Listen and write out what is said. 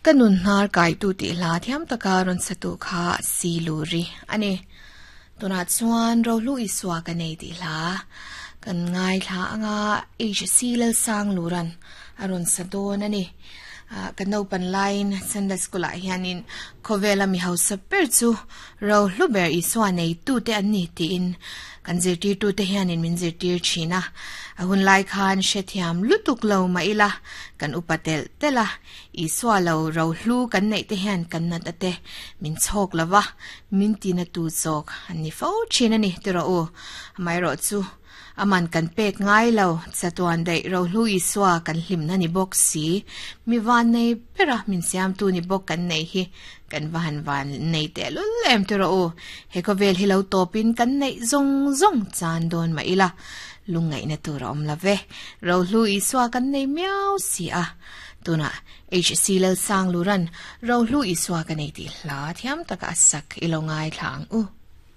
Ka nun hnar kaitu tih hla thiam taka rawn satu kha si luri a ni. Tunah chuan Rohlu Isua ka nei tih hla kan ngaithla anga HC Lalsangluran a rawn sa dawn a ni. Ka naupan laiin Sunday School ah hianin khawvela mi hausa ber chu Rohlu ber Isua neitute an ni tiin kan zirtirtute hianin min zirtir thin a. A hun lai khan hrethiam lutuk lo mah ila kan upa telh telh a. Isua lo rohlu kan neih te hian kan nat ate min chhawk lo va, min tina tu zawk an ni fo thin a ni ti rawh u. Amaherawh chu aman kan pek ngai lo, chatuan daih rohlu Isua kan hlimna ni bawk si, mi van nei bera min siamtu ni bawk kan nei hi kan va han van nei tehlul em ti rawh u. He khawvel hi lo tawpin kan neih zawng zawng chan dawn mah ila, lungngaihna tur a awm lo ve. Rohlu Isua kan nei miau si a. Tunah HC Lalsangluran Rohlu Isua ka nei tih hla thiam taka a sak i lo ngaithla ang u.